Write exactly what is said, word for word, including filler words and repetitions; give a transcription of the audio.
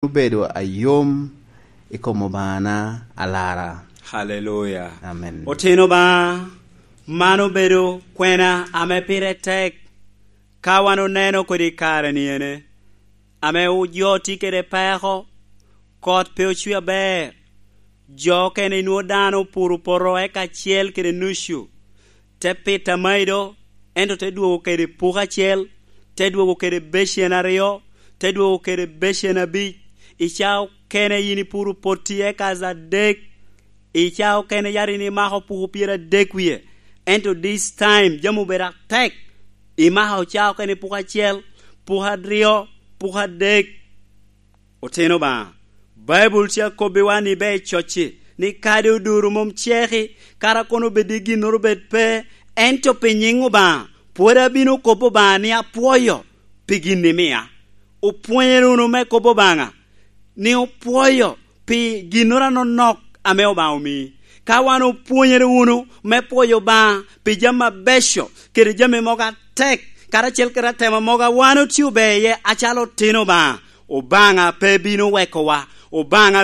obedo ayom i kom Obaŋana alara. Haleluya. Amen. Otino ba, man obedo kwena ame pire tek. Ka wan oneno kodi kare ni ene, ame jo tye kede peko, kot pe ocwe aber, jo okene inwo dano opuro poto eka acel kede nucu, te pito amaido, ento te dwogo kede puko acel, te dwogo kede becen aryo, te dwogo kede becen abic. I ca okene yin ipuro potti eka adek, i ca okene yari ni imako puko pyeradek wie, ento this time jami obedo atek, imako ca okene puko acel, puko aryo, puko adek. Otino Obaŋa, Baibul tye akobbiwa ni ber cocci, ni kadi oduro mom ceki, kara kono obed i ginnoro obed pe, ento pi nyiŋ Obaŋa, pwod abino kobbo Obaŋa ni apwoyo pi gin imia. Opwonyere wunu me kobbo Obaŋa, ni opwoyo pi ginnoro anonok ame Obaŋa omii. Ka wan opwonyere wunu me pwoyo Obaŋa pi jami abeco kede jami mogo atek, karacel kede atemo mogo a wan otye ober iye acalo otino Obaŋa, Obaŋa pe bino wekowa. Obaŋa